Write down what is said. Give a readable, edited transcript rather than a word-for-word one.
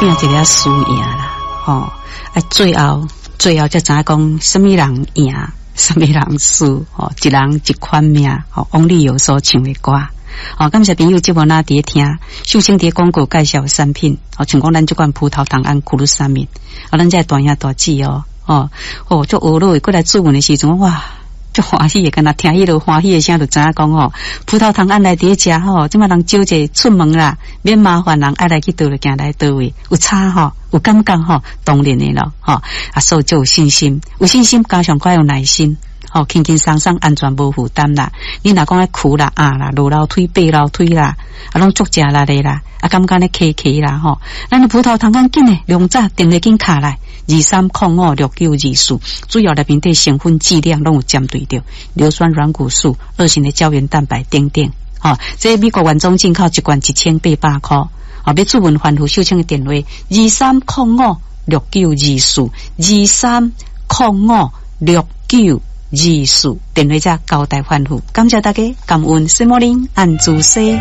拼一个輸贏啦，吼！啊，最後最後才知影講，啥物人贏，啥物人輸，吼！一人一款命，吼！翁立友所唱的歌，吼！感謝朋友節目哪佇咧聽，秀清佇廣告介紹產品，吼，像講咱這款葡萄糖胺 glucosamine，啊，咱這大兄大姊哦，哦，哦，足學落過來注文的時陣，哇！足歡喜的，敢若聽彼个歡喜的聲，就知影講吼，葡萄糖胺來佇咧食吼，這擺人少者出門啦，免麻煩人愛來去佗就行來佗位，有差吼，有感覺吼，當然的咯，吼，啊，所以就有信心，有信心加上閣有耐心，吼，輕輕鬆鬆安全無負擔啦。你若講愛苦啦啊啦，落樓梯爬樓梯啦，啊，攏足食力的啦，啊，感覺咧磕磕啦吼，咱的葡萄糖胺緊的，量早電話緊敲來。23056924，主要內面的成分劑量攏有針對著硫酸軟骨素、二型的膠原蛋白等等。吼，這美國原裝進口一罐1800箍。吼，欲諮問番號秀清的電話：23056924，23056924，電話遮交代番號。感謝大家，感恩，什麼林按主西。